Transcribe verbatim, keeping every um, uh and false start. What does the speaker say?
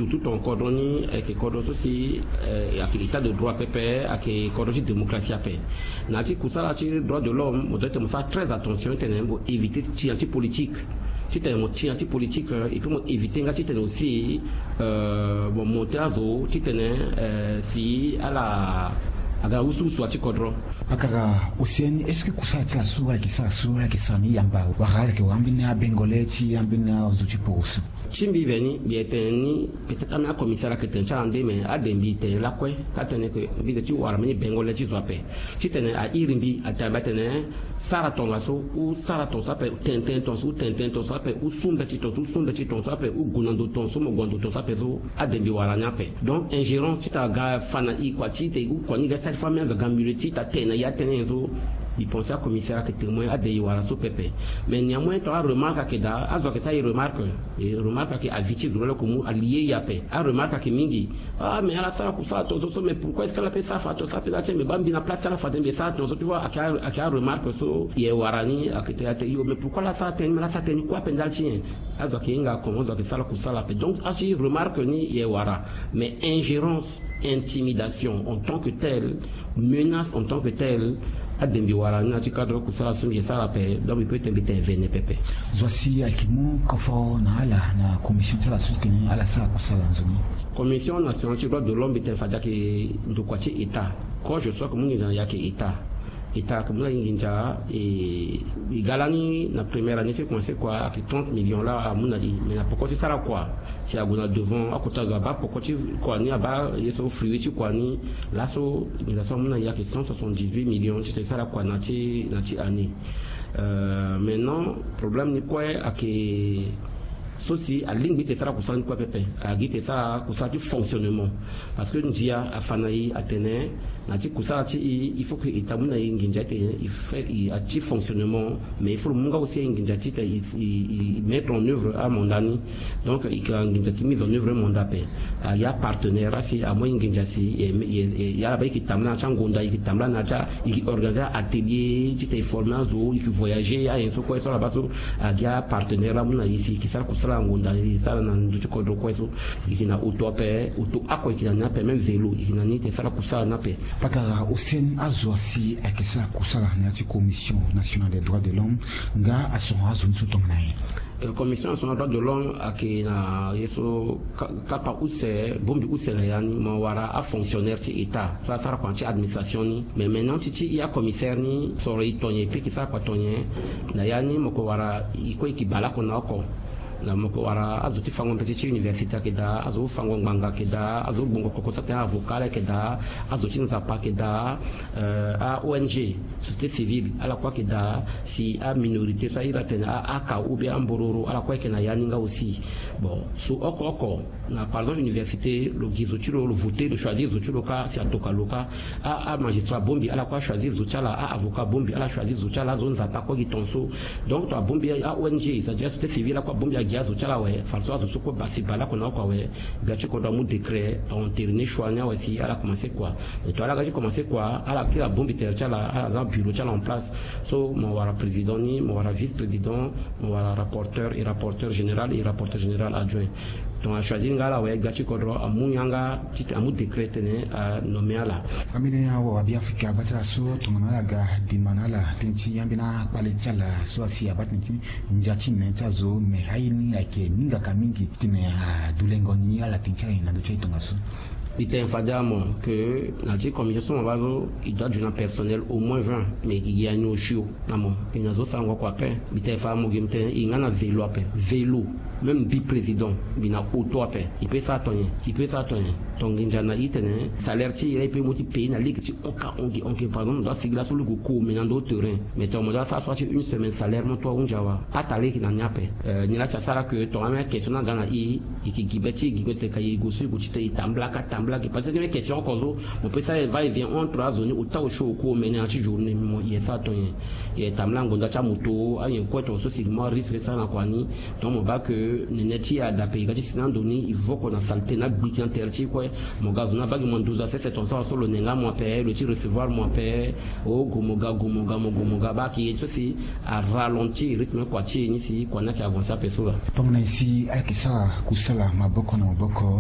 Surtout ton kodro ni ayeke kodro so si ayeke état de droit pepe, ayeke kodro ti démocratie ape. Na ya ti kusala ti droit de l'homme mo doit ete mo sara très attention titene mo éviter ti tia ti politique. Titene mo tia ti politique, et puis mo éviter nga titene aussi mo monter azo titene si ala aga usuusu ya ti kodro. Akara océan ni, est-ce que kusala ti ala so ala yeke sara so ala yeke sara ni yamba wala ala yeke wara ambeni abengole ti ambeni azo ti poroso? Ti mbi veni mbi yeke tene ni, peut-être ambeni acommissaire ayeke tene ti ala nde, mais ade mbi tene lakue ka tene ke mbi de ti wara mbeni bengole ti zo ape. Titene airi mbi atene mbi atene sara tongaso ou sara tongaso ape, tene tënë tongaso ou tene tënë tongaso ape, ou su mbeti tongaso ou su mbeti tongaso ape, ou gue na ndo tongaso ou mo gue na ndo tongaso ape so, ade mbi wara ni ape. Donc ingérence ti tara ga fa na i kua ti te ou kua ni ga sali fo ambeni azo aga milieu ti ta tene na i atënë nyen so. Mbi pense acommissaire ayeke témoin ade i wara so pepe. Mais néanmoins ton aremarque ayeke daa, azo ayeke sara i remarque. E remarque ayeke avis ti zo loloko mu alie i ape. Aremarque ayeke mingi. Ah mais ala sara kusala tongaso so, mais pourquoi est-ce que ala pe sara fa tongaso ape? Ala ti mais baa mbi na place ti ala fade mbi e sara tongaso, tu vois, ayeke aremarque so i e wara ni. Ayeke te ate yo, mais pourquoi ala sara tënë ni? Mais ala sara tënë ni kue ape ndali ti nyen? Azo ayeke hinga comment azo ayeke sara kusala ape. Donc asi remarque ni i e wara. Mais ingérence, intimidation en tant que telle, menace en tant que telle, ade mbi wara ni na ya ti cadre kusala so mbi e sara ape. Donc mbi pe tene mbi tene vene pepe. Zo asi ayeke mu kofo na ala na commission ti ala so ti tene ala sara kusala na nzoni. Commission nationale ti droit de l'homme mbi tene fade ayeke ndokua ti état. Quand je sois ke mu nginza na ya ayeke état. État ayeke mu na i nginza. E i ga lani na première année so e commencé kua ayeke trente millions laa amu na i, mais na poko ti sara kua si ague na devant akota zo abaa poko ti kua ni, abaa ye so fruit ti kua ni. Laso nginza so amu na i ayeke cent soixante-dix-huit millions titene e sara kua na ti na ti année. Maintenant problème ni kue ayeke so si alingbi ti e sara kusala ni kue pepe, agi ti e sara kusala ti fonctionnement. Parce que ndia afa na i atene na ya ti kusala ti i il faut que état amu na i nginza ti tene i fait i a ti fonctionnement. Mais il faut lo mu nga aussi i nginza ti tene i mettre en œuvre amandat ni. Donc i yeke na nginza ti mise en œuvre amandat ape. Agi apartenaire asi amu i nginza si i ala baa i yeke tambula na ya ti angonda, i yeke tambula na ya ti i yeke organiser atelier ti tene i former azo, i yeke voyager, anyen so kue so ala baa so. Agi apartenaire laa amu na i si i yeke sara kusala angonda i sara na ndö ti kodro kue so. I yeke na auto ape, auto oko i yeke na ni ape, même vélo i yeke na ni tene sara kusala ni ape. Pakara osen azo asi ayeke sara kusala na ya ti commission nationale des droits de l'homme nga asoro azo ni so tongana nyen? Commission nationale droit de l'homme ayeke na ye so kapa use, bongbi use na ya ni mo wara afonctionnaire ti état so asara kua na ti administration ni. Mais maintenant ti ti i acommissaire ni soro i tonye pe i ke sara kua tonye. Na ya ni mo ke wara i kue i ke bale oko na oko. Na mo ke wara azo ti fango mbeti ti université ayeke daa, azo fango ngbanga ayeke daa, azo gbongo koko so atene avocat ala ayeke daa, azo ti nzapa ayeke daa, a-ong, société civile ala kue ayeke daa, si aminorité so ahiri atene a-aka ou bien ambororo ala kue ayeke na ya ni nga aussi. Bon so oko oko na par exemple université lo gi zo ti lo, lo voter, lo choisir zo ti lo kâ si atoka lo kâ. A-magistrat abongbi ala kue achoisir zo ti ala, a-avocat abongbi ala choisir zo ti ala, azo nzapa kue gi tongaso. Donc to abongbi a-ong, c'est-à-dire société civile ala kue abongbi agi azo ti ala awe. Fadeso azo so kue basi baleoko na oko awe. Gbia ti kodro amu décret a-entériner choix ni awe si ala commencer kua. Mais to ala ga ti commencer kua, ala kiri abongbi tere ti ala, ala za bureau ti ala en place. So mo wara président ni, mo wara vice président, mo wara rapporteur et rapporteur général et rapporteur général adjoint. Donc achoisir nga ala awe, gbia ti kodro amu yanga ti tene amu décret tene anommer ala. Ambeni awawa Beafrika abaa ti ala so tongana ala ga dima na ala tënë ti ambeni akpale ti ala so asi abaa tënë ti ndia ti nene ti azo, mais aye ni ayeke ningaka mingi titene adulengo ni ala tënë ti ala nyen na ndö ti aye tongaso? Mbi tene fade amo ke na ya ti commission so mo baa so i doit du na personnel au moins vingt, mais i gi ya ni osio. Na mo, mbi na zo sarango oko ape. Mbi tene fa mo gi mo tene i nga na vélo ape, vélo. Même mbi président mbi na auto ape. I pe sara ton nyen? I pe sara ton nyen? Ton nginza na i tene salaire ti i la i pe mu ti payer na lege ti oka ongi ongi. Par exemple mo doit sigi laso lege oko mais na ndo terrain, mais ton mo doit sara so ti une semaine salaire mo to ahunzi awa. Pata lege na ni ape. Ni la si asara ke ton ameni question ni aga na i. I ke gi be ti i gi be tene ka i gue so i gue ti tene i tambula ka tambula ge parce que ni question oko so. Mo pe sara va et vient entre azo ni ota osio oko omene na ya ti journée mo i ye sara ton nyen? I ye tambula ngonda ti amoto anyen kue ton so si mo arisque sara na kua ni. Donc mo baa ke nene ti i ada ape i ga ti si na ando ni i voko na salté na gbiki na tere ti i kue. Mo ga zo ni abaa gi mo na nduza sese ton so aso lo ne nga mo ape lo ti recevoir mo ape. O gue mo ga gue mo ga mo gue mo ga baa ke ye so si aralentir rythme kua ti e ni si kua ni ayeke avancer ape so laa. Tongana nyen si ala yeke sara kusala maboko na maboko?